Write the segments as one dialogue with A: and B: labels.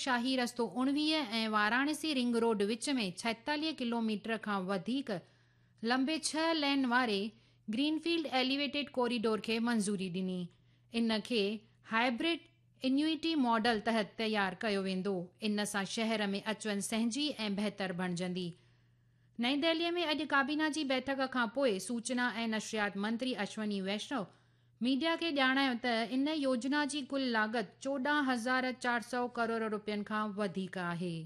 A: شاهي رستو 19 ۽ Varanasi ring road وچ ۾ 46 kilometre کان وڌيڪ لمبي 6 لين واري گرين فيلڊ ايليويٽيڊ ڪوريڊور کي منظوري ڏني. ان کي هائبرڊ انيوئٽي ماڊل تحت تيار ڪيو ويندو. ان سان شهر ۾ اچ وڃ سهنجي ۽ بهتر بڻجندي. نئين دهلي ۾ اڄ ڪابينا جي بيٺڪ کان پوء سوچنا ۽ نشريات منتري اشوني ويشنو ميڊيا کي ڄاڻايو ته ان يوجنا جي ڪل لاڳت 14,400 ڪروڙ رپين کان وڌيڪ آهي.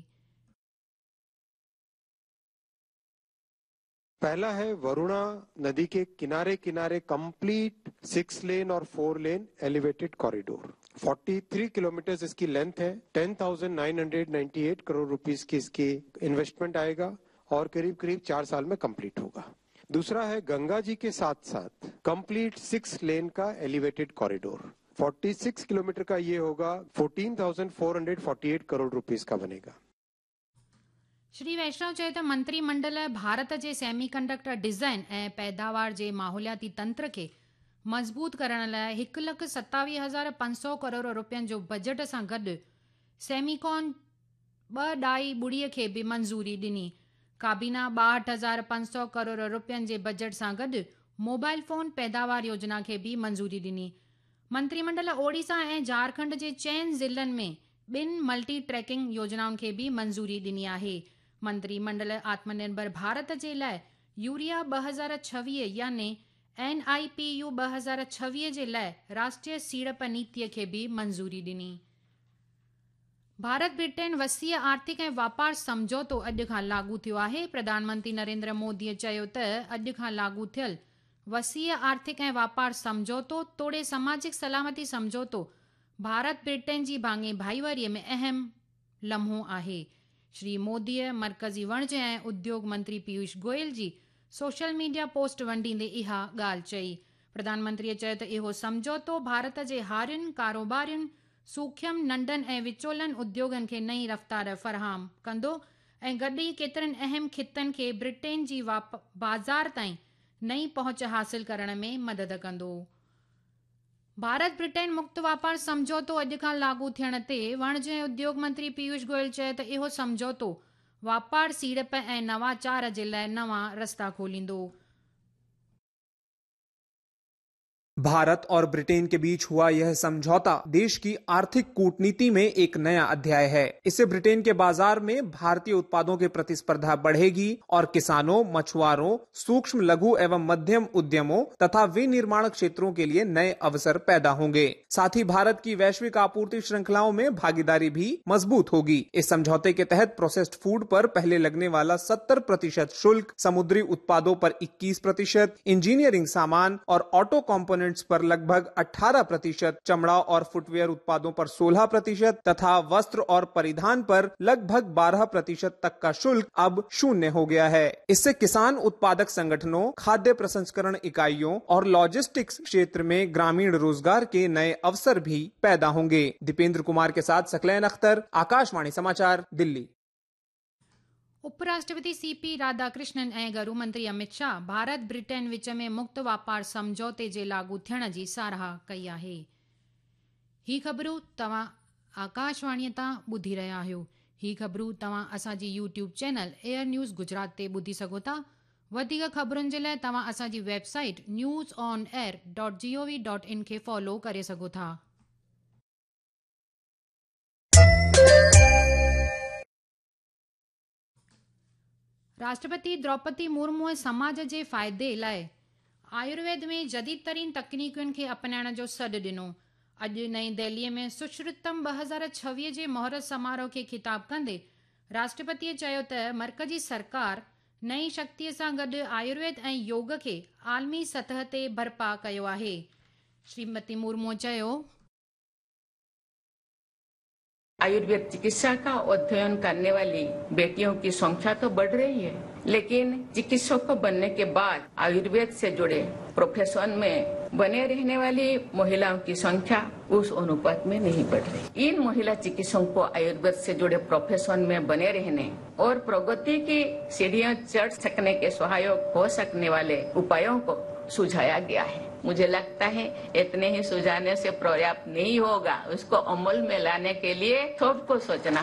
B: पहला है वरुणा नदी के किनारे किनारे कंप्लीट 6 लेन और 4 लेन एलिवेटेड कॉरिडोर। 43 किलोमीटर इसकी लेंथ है। 10,998 करोड़ रुपीस की इसकी इन्वेस्टमेंट आएगा और करीब करीब 4 साल में कंप्लीट होगा। दूसरा है गंगा जी के साथ साथ कंप्लीट 6 लेन का एलिवेटेड कॉरिडोर। 46 किलोमीटर का ये होगा। 14,448 करोड़ रुपीस का बनेगा।
A: श्री वैष्णव चयो त मंत्री मंडल भारत जे सेमी कंडक्टर डिज़ाइन ऐं पैदावार जे माहौलियाती तंत्र खे मज़बूत करण लाइ 1,27,500 करोड़ रुपयनि जो बजट सां गॾु सेमिकॉन 2.2 खे बि मंज़ूरी ॾिनी। काबीना 62,500 करोड़ रुपयनि जे बजट सां गॾु मोबाइल फ़ोन पैदावार योजना खे बि मंज़ूरी ॾिनी। मंत्रीमंडल ओडिशा ऐं झारखंड जे 4 ज़िलनि में 2 मल्टी ट्रैकिंग योजनाउनि खे बि मंज़ूरी ॾिनी आहे। मंत्रीमंडल आत्मनिर्भर भारत जे लाइ यूरिया 2026 यानी NIPU 2026 जे लाइ राष्ट्रीय सीड़प नीतीअ खे बि मंज़ूरी ॾिनी। भारत ब्रिटेन वसीअ आर्थिक ऐं वापार सम्झौतो अॼु खां लागू थियो आहे। प्रधानमंत्री नरेंद्र मोदीअ चयो त अॼु खां लागू थियल वसीअ आर्थिक ऐं वापार सम्झौतो तोड़े समाजिक सलामती सम्झौतो भारत ब्रिटेन जी भाङे भाईवारीअ में अहम लम्हो आहे। श्री मोदीअ मर्कज़ी वणज ऐं उद्योग मंत्री पीयूष गोयल जी सोशल मीडिया पोस्ट वंडींदे इहा ॻाल्हि चई। प्रधानमंत्रीअ चयो त इहो सम्झौतो भारत जे हारियुनि, कारोबारियुनि, सूखम, नंढनि ऐं विचोलनि उद्योगनि खे नई रफ़्तार फराहम कंदो ऐं गॾु ई केतिरनि अहम ख़ितनि खे ब्रिटेन जी बाज़ार ताईं नई पहुच हासिल करण में मदद कंदो। भारत ब्रिटेन मुक्त वापार सम्झौतो अॼु खां लागू थियण ते वणज ऐं उद्योग मंत्री पीयूष गोयल चयो त इहो सम्झौतो वापार, सीड़प ऐं नवाचार जे लाइ नवां रस्ता खोलींदो।
C: भारत और ब्रिटेन के बीच हुआ यह समझौता देश की आर्थिक कूटनीति में एक नया अध्याय है। इससे ब्रिटेन के बाजार में भारतीय उत्पादों की प्रतिस्पर्धा बढ़ेगी और किसानों, मछुआरों, सूक्ष्म, लघु एवं मध्यम उद्यमों तथा विनिर्माण क्षेत्रों के लिए नए अवसर पैदा होंगे। साथ ही भारत की वैश्विक आपूर्ति श्रृंखलाओं में भागीदारी भी मजबूत होगी। इस समझौते के तहत प्रोसेस्ड फूड पर पहले लगने वाला 70% शुल्क, समुद्री उत्पादों पर 21%, इंजीनियरिंग सामान और ऑटो कंपोनेंट पर लगभग 18%, चमड़ा और फुटवेयर उत्पादों पर 16% तथा वस्त्र और परिधान पर लगभग 12% तक का शुल्क अब शून्य हो गया है। इससे किसान उत्पादक संगठनों, खाद्य प्रसंस्करण इकाइयों और लॉजिस्टिक्स क्षेत्र में ग्रामीण रोजगार के नए अवसर भी पैदा होंगे। दीपेंद्र कुमार के साथ सकलैन अख्तर, आकाशवाणी समाचार, दिल्ली।
A: उपराष्ट्रपति CP Radhakrishnan ऐं गृह मंत्री अमित शाह भारत ब्रिटेन विच में मुक्त वापार सम्झौते जे लागू थियण जी सराह कई आहे। ही ख़बरूं तव्हां आकाशवाणीअ तां ॿुधी रहिया आहियो। ही ख़बरूं तव्हां असांजी YouTube channel air news Gujarat ते ॿुधी सघो था। वधीक ख़बरुनि जे लाइ तव्हां असांजी वेबसाइट newsonair.gov.in खे फॉलो करे सघो था। राष्ट्रपति द्रौपदी मुर्मू समाज जे फ़ाइदे लाइ आयुर्वेद में जदीद तरीन तकनीकुनि खे अपनाइण जो सॾु ॾिनो। अॼु नई दिल्लीअ में सुश्रुतम 2026 जे मुहूर्त समारोह खे ख़िताब कंदे राष्ट्रपतीअ चयो त मर्कज़ी सरकार नई शक्तीअ सां गॾु आयुर्वेद ऐं योग खे आलमी सतह ते बर्पा कयो आहे। श्रीमती मुर्मू चयो,
D: आयुर्वेद चिकित्सा का अध्ययन करने वाली बेटियों की संख्या तो बढ़ रही है, लेकिन चिकित्सक बनने के बाद आयुर्वेद से जुड़े प्रोफेशन में बने रहने वाली महिलाओं की संख्या उस अनुपात में नहीं बढ़ रही। इन महिला चिकित्सकों को आयुर्वेद से जुड़े प्रोफेशन में बने रहने और प्रगति की सीढ़ियां चढ़ सकने के सहायक हो सकने वाले उपायों को सुझाया गया है। मुझे लगता है इतने ही सुझाने से पर्याप्त नहीं होगा, उसको अमल में लाने के लिए सबको सोचना।